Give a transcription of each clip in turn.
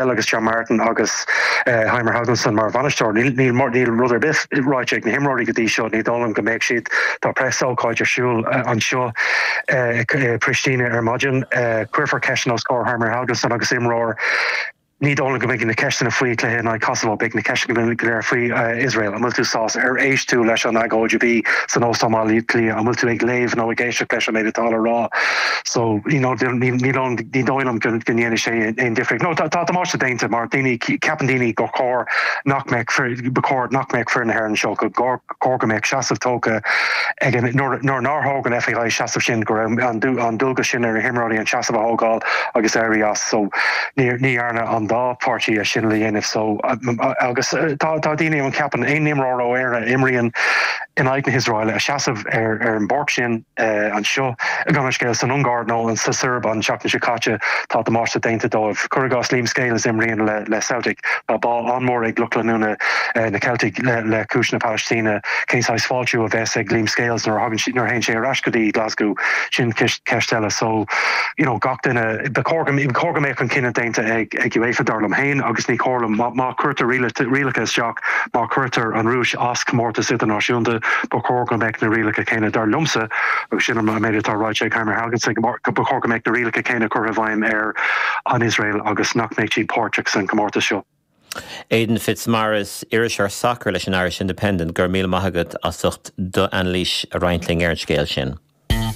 Agus John Martin agus Heimir Hallgrímsson mar bhainisteoir. Níl níl rud ar bith ráite ag na himreoirí go dtí seo, ní dóigh liom go mbeidh siad. Tá preasócáid ar siúl anseo i Pristina ar maidin. Cuirfear ceisteanna os comhair Heimir Hallgrímsson agus imreoir. Ní dóigh liom go mbeidh na ceisteanna faoi chluiche in aghaidh Kosovo, beidh na ceisteanna go léir faoi Iosrael. An bhfuil tú sásta? Ar éist tú leis an agóid a bhí san Óstán Bhaile Átha Cliath? An bhfuil tú ag léamh nó ag éisteacht leis an méid atá le rá? So, you know, ní dóigh liom go ndéanfaidh sé aon difríocht. No, tá damáiste déanta mar daoine, ceapann daoine gur chóir nach mbeadh, ba chóir nach mbeadh foireann na hÉireann anseo, go chóir go mbeadh seasamh tógtha ag an, nuair nár thóg an FAI seasamh sin, go raibh an dualgas sin ar na himreoirí an seasamh a thógáil agus éirí as. So, ní dhearna an dá pháirtí é sin le dhéanamh. So, agus tá daoine ann ceapann aon imreoir ó Éirinn a imríonn in aghaidh na hIosraeile a seasamh ar an bpáirc sin, anseo, gabh mo leithscéal, san Ungáir nó sa tSeirbia an tseachtain seo caite, tá damáiste déanta dóibh. Cuir i gcás Liam Scales a imríonn le Celtic. Tá bá an-mhór ag lucht leanúna na Celtic le cúis na Palaistíne. Cén saghas fáiltiú a bheas ag Liam Scales nuair a thagann, nuair a théann sé ar ais go dtí Glasgow? Sin ceist eile. So, you know, gach duine, ba chóir go, ba chóir go mbeadh an cinneadh déanta ag, ag UEFA dar liom féin agus ní chóir liom, má, má chuirtear rialacha isteach, Má chuirtear an Rúis as comórtas idirnáisiúnta, ba chóir go mbeadh na rialacha céanna, dar liomsa, agus sin an méid atá ráite ag Heimir Hallgrímsson, ba chóir go mbeadh na rialacha céanna curtha i bhfeidhm ar an Iosrael agus nach mbeadh siad páirteach san comórtas seo. Aidan Fitzmaurice, iriseoir sacair leis an Irish Independent, go raibh míle maith agat as ucht d'anailís a roinnt linn ar an scéal sin.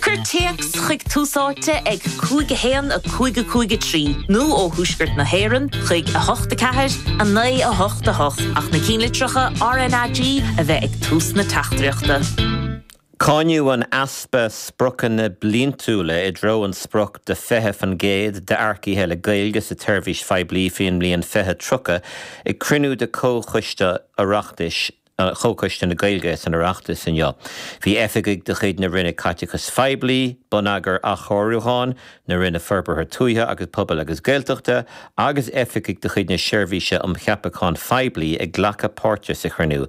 Cuir téacs chuig Tús Áite ag 5 1 5 5 3 nó ó Thuaisceart na hÉireann chuig 8 4 9 8 8 ach na cinnlitreacha RnaG a bheith ag tús na teachtaireachta. Cáineadh an easpa spriocanna bliantúla i dtreo an sprioc de 20% d'earcaithe le Gaeilge sa tseirbhís phoiblí faoin mbliain 2030 ag cruinniú de Chomhchoiste Oireachtais Chomhchoiste na Gaeilge san Oireachtas inniu. Bhí oifigigh de chuid na Roinne Caiteachais Phoiblí, Bonneagair Athchóiriúcháin, na Roinne Forbartha Tuaithe agus Pobail agus Gaeltachta agus oifigigh de chuid na Seirbhíse um Cheapacháin Phoiblí ag glacadh páirte sa chruinniú.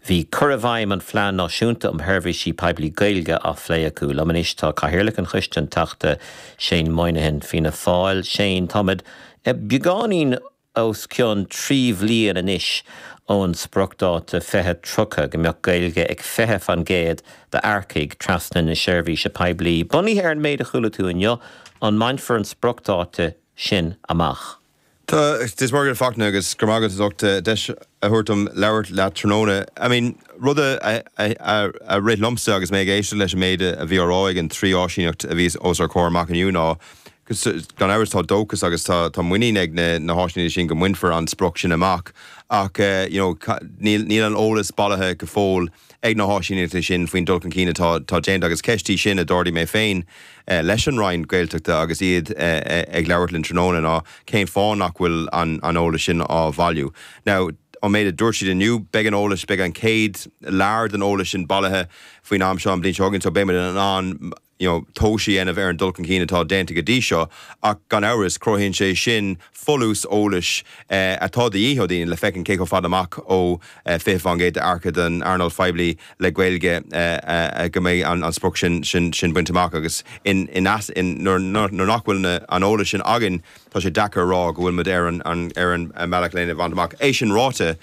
Bhí cur i bhfeidhm an Phlean Náisiúnta um Sheirbhísí Poiblí Gaeilge á phlé acu. Liom anois tá Cathaoirleach an Choiste, an Teachta Shane Moynihan, Fianna Fáil. Shane, táimid beagáinín os cionn 3 bhliain anois ón spriocdháta 2030 go mbeadh Gaeilge ag 20% d'earcaigh trasna na seirbhíse poiblí. Bunaithe ar an méid a chuala tú inniu, an mbainfear an spriocdháta sin amach? Tá, Dia is Muire dhuit a Fachtna agus go raibh maith agat as ucht deis a thabhairt dom labhairt leat tráthnóna. I mean, rud a a rith liomsa agus mé ag éisteacht leis an méid a bhí á rá ag an trí áisíneacht a bhí os ár comhair amach inniu ná Gan amhras tá dóchas agus tá muinín ag na háisíneachtaí sin go mbainfear an sprioc sin amach ach you know níl níl an eolas bailithe go fóill ag na háisíneachtaí sin faoin dul chun cinn atá tá déanta agus ceist í sin a d'ardaigh mé féin leis an Roinn Gaeltachta agus iad ag labhairt linn tráthnóna ná cén fáth nach bhfuil an an eolas sin á bhailiú. Now an méid a dúirt siad inniu beidh an eolas beidh an chéad lear den eolas sin bailithe faoin am seo an bhliain seo chugainn so beidh muid in ann you know, tomhas a dhéanamh ar an dul chun cinn atá déanta go dtí seo, ach gan amhras, cruthaíonn sé sin folús eolais atá de dhíth ó dhaoine le feiceáil cé chomh fada amach ó 20% d'earcaithe don earnáil phoiblí le Gaeilge go mbeidh an sprioc sin sin bainte amach agus in in nuair nach bhfuil an eolas sin againn, tá sé deacair a rá go bhfuil muid ar an ar an mbealach lena bhaint amach. É sin ráite,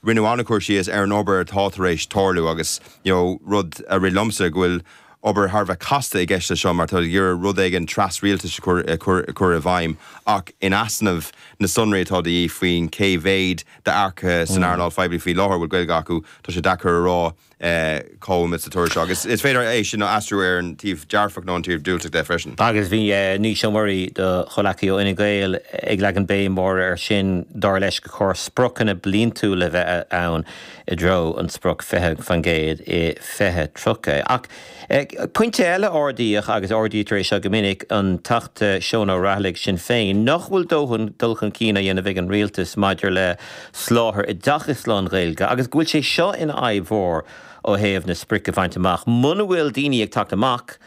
rinneadh an-chur síos ar an obair atá tar éis tarlú agus, you know, rud a rith liomsa go bhfuil obair thar a bheith casta i gceist leis seo mar tá ag iarraidh rud éigin tras-rialtais a chur i bhfeidhm ach in easnamh na sonraí atá de dhíth faoin cé mhéad d'earcaithe san earnáil phoiblí faoi láthair a bhfuil Gaeilge acu, tá sé deacair a rá cá bhfuil muid sa turas seo agus is féidir é sin a aistriú ar an taobh dearfach nó an taobh diúltach de freisin. Agus bhí Naoise Ó Muirí, do chomhleacaí ó Fhine Gael, ag leagan béim mhór air sin, dar leis gur chóir spriocanna bliantúla a bheith ann i dtreo an sprioc 20% i 2030. Ach pointe eile a ardaíodh, agus ardaítear é seo go minic, an Teachta Seán Ó Raghallaigh, Sinn Féin, nach bhfuil dóthain dul chun cinn á dhéanamh ag an Rialtas maidir le soláthar oideachais lán-Ghaeilge agus go bhfuil sé seo ina fhadhb mhór ó thaobh na sprice a bhaint amach. Muna bhfuil daoine ag teacht amach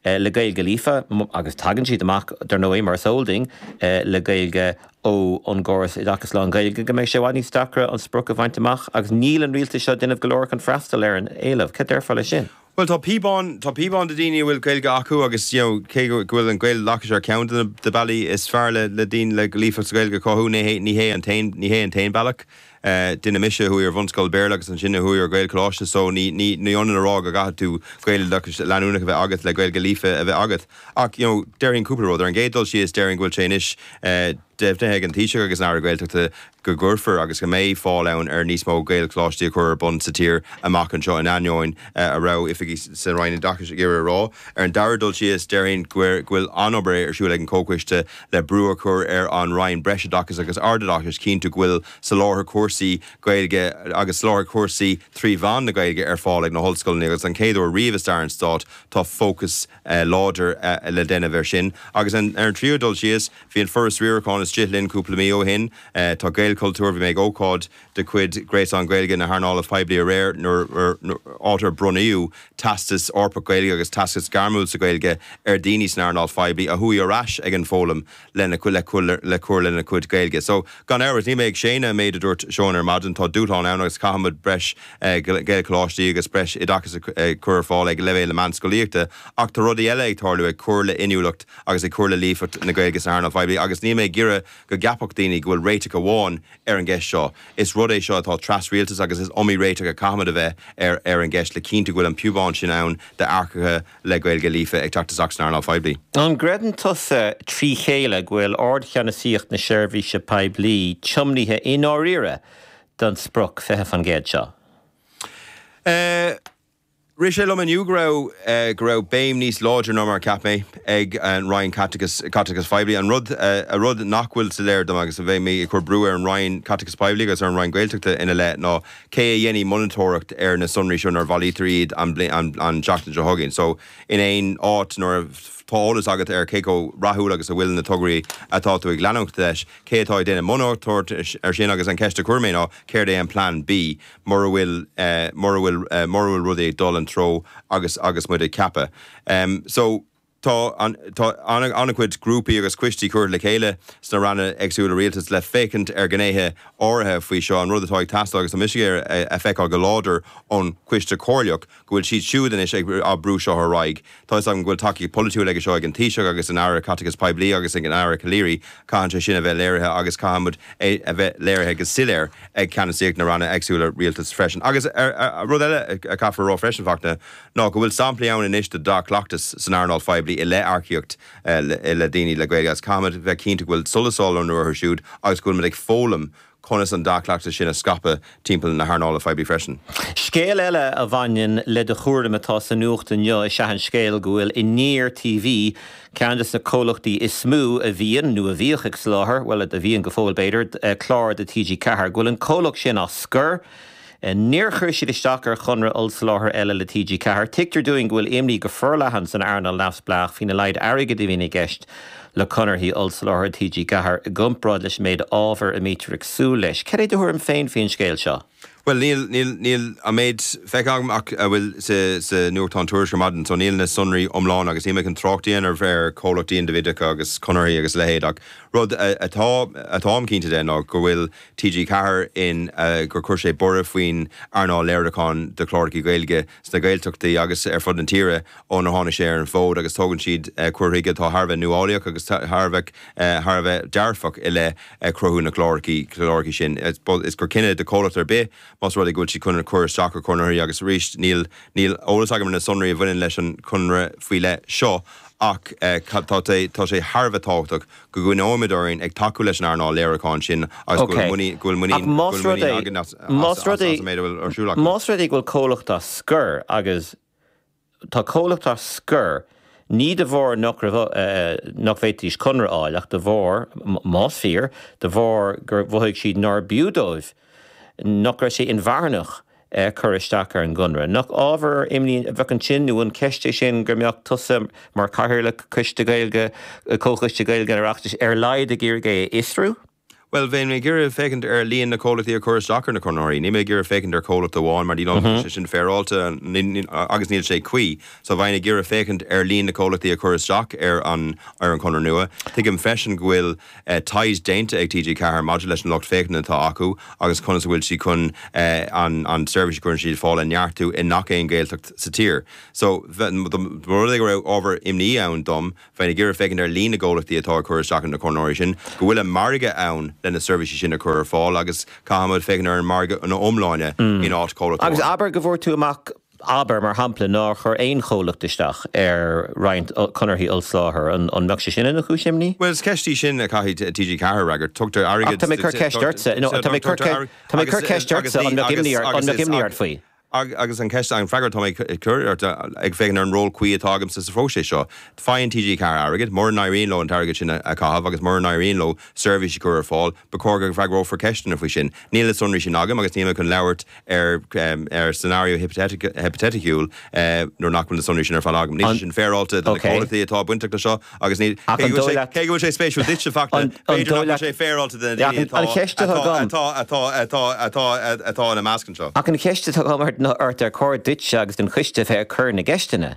le Gaeilge líofa, agus tagann siad amach, dar ndóigh, mar is eol duinn, le Gaeilge ó an gcóras oideachais lán-Ghaeilge, go mbeidh sé i bhfad níos deacra an sprioc a bhaint amach agus níl an rialtas seo ag déanamh go leor chun freastal ar an éileamh. Cad déarfá leis sin? Bhuel tá píobán, tá píobán do daoine a bhfuil Gaeilge acu agus you know cé go bhfuil an Gaeloideachas ar ceann de na bealaí is fearr le le daoine le líofacht sa Ghaeilge a chothú, ní hé ní hé an t-aon ní hé an t-aon bealach. Duine mise a chuaigh ar bhunscoil Béarla agus ansin a chuaigh ar Ghaelcholáiste so ní ní ní ionann a rá go gcaithfidh tú Gaeloideachas leanúnach a bheith agat le Gaeilge líofa a bheith agat. Ach you know déarfainn cúpla rud. Ar an gcéad dul síos déarfainn go bhfuil sé anois deimhnithe ag an Taoiseach agus an Aire Gaeltachta go gcuirfear agus go mbeidh fáil ann ar níos mó Gaelcholáistí a chur ar bun sa tír amach anseo in ainneoin a raibh oifigigh sa Roinn Oideachais ag iarraidh a rá. Ar an dara dul síos, déarfainn go bhfuil an-obair ar siúl ag an Chomhchoiste le brú a chur ar an Roinn Breisoideachais agus Ardoideachais cinntiú go bhfuil soláthar cúrsaí Gaeilge agus soláthar cúrsaí trí mheán na Gaeilge ar fáil ag na hollscoileanna agus don chéad uair riamh i stair an Stáit tá fócas láidir le déanamh air sin. Agus ar an tríú dul síos, bhí an Foras Riaracháin istigh linn cúpla mí ó shin. Tá Gaelchultúr, bhí mé ag ócáid de chuid Gréasán Gaeilge na hEarnála Poiblí aréir nuair, áit ar bronnaíodh Teastas Eorpach Gaeilge agus Teastas Gairmiúil sa Ghaeilge ar dhaoine san earnáil phoiblí a chuaigh ar ais ag an bhfoghlaim lena le le cur lena gcuid Gaeilge. So, gan amhras, níl mé ag séanadh an méid a dúirt Seán ar maidin, tá dúshlán ann agus caithfimid breis Gaelcholáistí agus breis oideachais a chur ar fáil ag leibhéal na meánscolaíochta ach tá rudaí eile ag tarlú ag cur le inniúlacht agus ag cur le líofacht na Gaeilge san earnáil phoiblí agus níl mé ag iarraidh go gceapfadh daoine go bhfuil réiteach amháin ar an gceist seo. Is rud é seo atá tras-rialtas agus is iomaí réiteach a caithfimid a bheith ar ar an gceist le cinntiú go bhfuil an piobán sin ann d'earcaithe le Gaeilge líofa ag teacht isteach san earnáil phoiblí. An gcreideann tusa trí chéile go bhfuil ardcheannasaíocht na seirbhíse poiblí tiomnaithe i ndáiríre don sprioc 20% seo? Rith sé liom inniu go raibh go raibh béim níos láidre ná mar a cheap mé ag an Roinn Caiteachais Caiteachais Phoiblí. An rud a rud nach bhfuil soiléir dom agus a bheidh mé ag cur brú ar an Roinn Caiteachais Poiblí agus ar an Roinn Gaeltachta ina leith ná cé a dhéanfaidh monatóireacht ar na sonraí seo nuair a bhailítear iad an an an tseachtain seo chugainn. So in aon áit nuair tá eolas agat ar cé chomh rathúil agus a bhfuil na tograí atá tú ag leanúint leis, cé atá ag déanamh monatóireacht ar sin agus an cheist a chuir mé ná céard é an plean B mura bhfuil mura bhfuil mura bhfuil rudaí ag dul an treo agus agus muid ag ceapadh. So tá an tá an-chuid grúpaí agus coistí curtha le chéile sna ranna éagsúla rialtais le féachaint ar ghnéithe áirithe faoi seo, an rud atá ag teastáil agus tá mise ag iarraidh a feiceáil go láidir ón Choiste Comhairleach go bhfuil siad siúd anois ag á brú seo ar aghaidh. Tá 'fhios agam go bhfuil tacaíocht pholaitiúil aige seo ag an Taoiseach agus an Aire Caiteachais Poiblí agus ag an Aire Calleary. Caitheann sé sin a bheith léirithe agus caithfimid é a bheith léirithe go soiléir ag ceannasaíocht na ranna éagsúla rialtais freisin. Agus rud eile a chaithfear a rá freisin, Fachtna, ná go bhfuil samplaí ann anois de dea-chleachtas san earnáil phoiblí i leith earcaíocht le daoine le Gaeilge agus caithfimid bheith cinnte go bhfuil solas á lonnú orthu siúd agus go bhfuilimid ag foghlaim conas an dea-chleachtas sin a scaipeadh timpeall na hearnála poiblí freisin. Scéal eile a bhaineann le do chúram atá sa nuacht inniu is ea an scéal go bhfuil Aniar TV, ceann de na comhlachtaí is mó a bhíonn, nó a bhíodh ag soláthar, bhuel, a bhíonn go fóill b'fhéidir, cláir do TG4, go bhfuil an comhlacht sin á scor. Níor chuir siad isteach ar chonradh ollsoláthair eile le TG4. Tuigtear dúinn go bhfuil imní go forleathan san earnáil neamhspleách faoina laghad airgid a bhíonn i gceist le conarthaí ollsoláthair TG4 i gcomparáid leis an méid ábhair a mbítear ag súil leis. Cad é do thuairim féin faoin scéal seo? Bhuel, níl, níl, níl an méid feicthe agam ach a bhfuil sa, sa nuachtán Tuairisc ar maidin, so níl na sonraí iomlána agus níl mé chun trácht a dhéanamh ar chomhlachtaí indibhideacha agus conarthaí agus a leithéid ach rud atá, atáim cinnte de ná go bhfuil TG4 in, gur chuir sé borradh faoin earnáil léiriúcháin de chláracha Gaeilge sna Gaeltachtaí agus ar fud na tíre ónar tháinig sé ar an bhfód agus tógann siad cur chuige atá thar a bheith nuálaíoch agus thar a bheith thar a bheith dearfach i leith cruthú na gcláracha cláracha sin. Is gur cinneadh do chomhlacht ar bith más rud é go bhfuil siad chun cur isteach ar chonarthaí agus arís níl níl eolas agam ar na sonraí a bhaineann leis an chonradh faoi leith seo ach tá tá sé thar a bheith tábhachtach go gcoinneoimid orainn ag tacú leis an earnáil léiriúcháin sin agus go bhfuil muinín go bhfuil muinín go bhfuil muinín againn as as as an méid a bhfuil ar siúl acu. Más rud é go bhfuil comhlacht á scor agus tá comhlacht á scor ní de bharr nach raibh nach bhféadfaidís conradh a fháil ach de bharr, más fíor, de bharr gur mhothaigh siad nár b'fhiú dóibh, nach raibh sé inmharthanach cur isteach ar an gconradh. Nach ábhar imní a bheadh ansin nó an ceist é sin go mbeadh tusa mar Chathaoirleach Coiste Gaeilge, Comhchoiste Gaeilge an Oireachtais ar a laghad ag iarraidh é a fhiosrú? Bhuel, bheinn ag iarraidh féachaint ar líon na comhlachtaí a chuir isteach ar na conraitheoirí. Níl mé ag iarraidh féachaint ar chomhlacht amháin mar ní dóigh liom go bhfuil sé sin féaráilte agus níl sé cuí. So bheinn ag iarraidh féachaint ar líon na comhlachtaí a chuir isteach ar an ar an chonradh nua. Tuigim freisin go bhfuil taighde déanta ag TG4 maidir leis an lucht féachana atá acu agus conas a bhfuil siad chun an an seirbhís a chuireann siad ar fáil a neartú i ngach aon Ghaeltacht sa tír. So dá mba rud é go raibh ábhar imní ann dom, Bheinn ag iarraidh féachaint ar líon na gcomhlachtaí atá ag cur isteach ar na conraitheoirí sin, go bhfuil an margadh ann le na seirbhísí sin a chur ar fáil agus caithfimid féachaint ar an margadh ina iomláine in áit comhlacht Agus amháin. abair go bhfuair tú amach, abair, mar shampla, nár chuir aon chomhlacht isteach ar roinnt conarthaí ollsoláthair, an mbeadh sé sin ina chúis imní? Bhuel, is ceist í sin a chaithfidh TG4 a fhreagairt. Tugtar airgead. Ach tá mé ag cur ceist ortsa, no, tá mé ag cur, tá mé ag cur ceist ortsa, an mbeadh imní ort, an mbeadh imní ort faoi? Agus an cheist, an freagra atá mé ag cur ort, ag féachaint ar an ról cuí atá agamsa sa phróiseas seo. Faigheann TG4 airgead, mura n-éiríonn leo an t-airgead sin a chaitheamh agus mura n-éiríonn leo seirbhís a chur ar fáil, ba chóir go bhfreagrófar ceisteanna faoi sin. Níl na sonraí sin agam agus níl mé chun labhairt ar ar scenario hipitéiticiúil nuair nach bhfuil na sonraí sin ar fáil agam. Níl sé sin féaráilte do na comhlachtaí atá bainteach leis seo agus ní, cé go bhfuil sé, cé go bhfuil sé spéisiúil duitse, a Fachtna, b'fhéidir nach bhfuil sé féaráilte do na daoine atá, atá, atá, atá, atá ina measc anseo. Ach an cheist atá agam ort, ar chóir duitse agus don choiste a bheith ag cur na gceisteanna?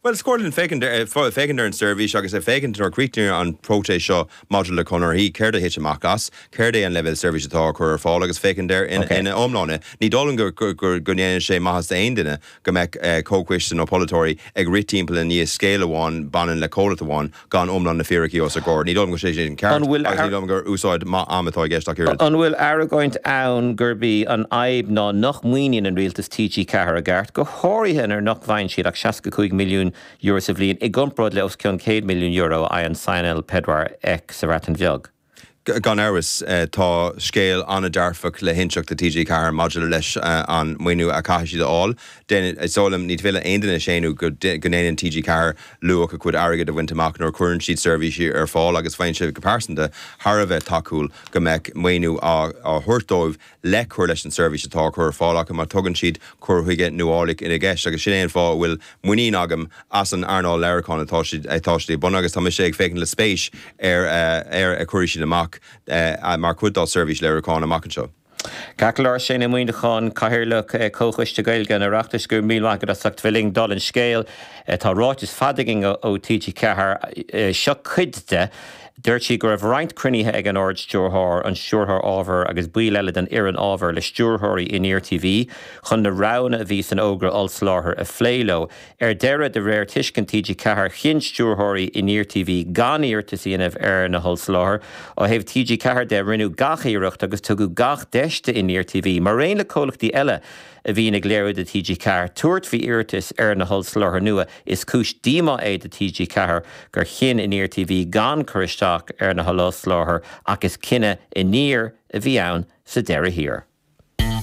Bhuel, is cóir linn féachaint ar, féachaint ar an tseirbhís agus ag féachaint nuair a críochnaíonn an próiseas seo maidir le conarthaí, céard a thit amach as, céard é an leibhéal seirbhíse atá á chur ar fáil agus féachaint air ina iomláine. Ní dóigh liom go, go, go ndéanann sé maitheas d'aon duine go mbeadh comhchoiste nó polaiteoirí ag rith timpeall i ndiaidh scéal amháin baineann le comhlacht amháin gan iomlán na fíricí os a gcomhair. Ní dóigh liom go bhfuil sé sin ceart agus ní dóigh liom gur úsáid maith ama atá i gceist ach oiread. An bhfuil argóint ann gurb í an fhadhb ná nach maoiníonn an rialtas TG4 i gceart, go háirithe nuair nach bhfaigheann siad ach €65 milliún sa bhliain i gcomparáid le os cionn €100 milliún a fhaigheann Sianel Pedwar Ec sa Bhreatain Bheag? Gan amhras, tá scéal an-dearfach le hinseacht do TG4 maidir leis an maoiniú a chaithfidh siad a fháil. Is dóigh liom, ní féidir le aon duine a shéanadh go ndéanann TG4 luach a chuid airgid a bhaint amach nuair a chuireann siad seirbhísí ar fáil agus bheinnse go pearsanta thar a bheith tacúil go mbeadh maoiniú á thabhairt dóibh le cur leis an seirbhís atá á cur ar fáil acu mar tugann siad cur chuige nuálach ina gceist agus sin é an fáth a bhfuil muinín agam as an earnáil léiriúcháin atá siad atá siad ag bunú agus tá mise ag féachaint le spéis ar ar a chuirfidh siad amach mar chuid dá seirbhís léiriúcháin amach anseo. Ceart go leor, Shane Ó Muíneacháin, Cathaoirleach Comhchoiste Gaeilge an Oireachtais, go raibh míle maith agat as ucht bheith linn. Dála an scéil, tá ráiteas fada againn ó TG4, seo cuid de. Dúirt siad go raibh roinnt cruinnithe ag an Ard-Stiúrthóir, an Stiúrthóir Ábhair agus baill eile den fhoireann ábhair le stiúrthóirí Aniar TV chun na roghanna a bhí san fhógra ollsoláthair a phlé leo. Ar deireadh, de réir tuiscint TG4, chinn stiúrthóirí Aniar TV gan iarratas a dhéanamh ar na hollsoláthair. Ó thaobh TG4 de, rinneadh gach iarracht agus tugadh gach deis d'Aniar TV, maraon le comhlachtaí eile a bhíonn ag léiriú do TG4, tabhairt faoi iarratas ar na hollsoláthair nua. Is cúis díomá é do TG4 gur chinn Aniar TV gan cur isteach ar na hollsoláthair ach is cinneadh Aniar a bhí ann sa deireadh thiar.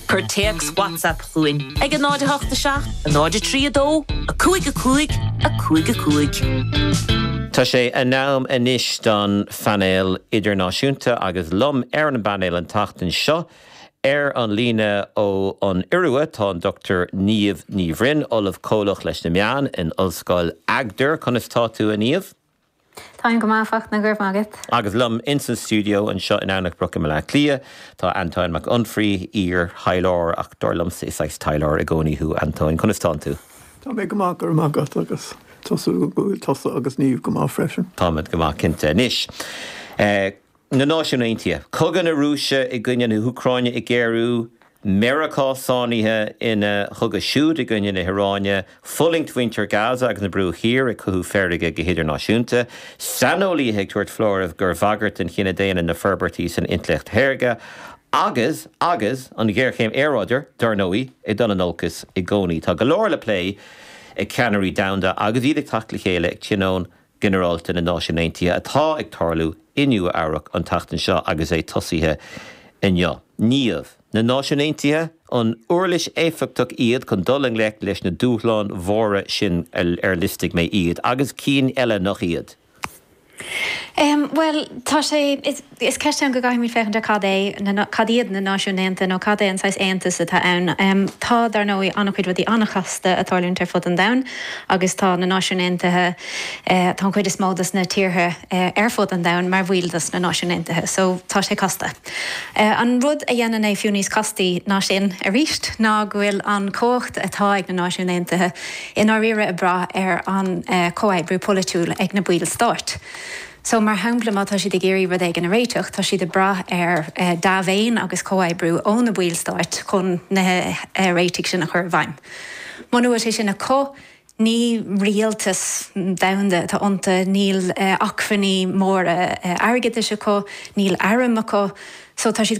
Cuir téacs WhatsApp chugainn ag 0 8 7 0 3 2 5 5 5 5. Tá sé in am anois don phainéal idirnáisiúnta agus liom ar an bpainéal an tseachtain seo, Ar an líne ó an Iorua tá an Dr Niamh Ní Bhroin, Ollamh Comhlach leis na Meáin in Ollscoil Agder. Conas tá tú, a Niamh? Táim go maith, a Fachtna, go raibh maith agat. Agus liom ins an stiúideo anseo in Eamhnach Broc i mBaile Átha Cliath tá Antóin Mac Unfraidh, iar-thaidhleoir, ach dar liomsa is saghas taidhleoir i gcónaí thú, Antóin. Conas tánn tú? Tá mé go maith, go raibh maith agat, agus tá súil agam go bhfuil tusa agus Niamh go maith freisin. Táimid go maith, cinnte. Anois, Na Náisiúin Aontaithe, Cogadh na Rúise i gcoinne na hÚcráine ag géarú, Meiriceá sáinnithe ina chogadh siúd i gcoinne na hIaráine, fulaingt mhuintir Gaza agus na Bruache Thiar ag cothú feirge go hidirnáisiúnta, saineolaithe ag tabhairt foláirimh gur bhagairt don chine daonna na forbairtí san intleacht shaorga, agus, agus, an ghéarchéim aeráide, dar ndóigh, ag dul in olcas i gcónaí. Tá go leor le plé ag ceannairí domhanda agus iad ag teacht le chéile ag Tionól Ginearálta na Náisiún Aontaithe atá ag tarlú i Nua Eabhrac an tseachtain seo agus é tosaithe inniu. Niamh, Na Náisiúin Aontaithe, an uirlis éifeachtach iad chun dul i ngleic leis na dúshláin mhóra sin ar liostaigh mé iad, agus cinn eile nach iad? Bhuel, tá sé. Is ceist ann go gcaithfimid féachaint ar cad é na, cad iad na Náisiúin Aontaithe nó cad é an saghas aontas atá ann. Tá, dar ndóigh, an-chuid rudaí an-chasta ag tarlúint ar fud an domhain agus tá na Náisiúin Aontaithe, tá an chuid is mó dos na tíortha ar fud an domhain mar bhaill dos na Náisiúin Aontaithe so tá sé casta. An rud a dhéanann é fiú níos castaí ná sin arís ná go bhfuil an chumhacht atá ag na Náisiúin Aontaithe i ndáiríre ag brath ar an chomhoibriú polaitiúil ag na baill stáit. So, mar shampla, má tá siad ag iarraidh rud éigin a réiteach, tá siad ag brath ar dea-mhéin agus comhoibriú ó na baill stáit chun na réitigh sin a chur i bhfeidhm. Muna bhfuil sé sin acu, ní rialtas domhanda atá iontu, níl acmhainní móra airgeadais acu, níl airm acu, so tá siad go.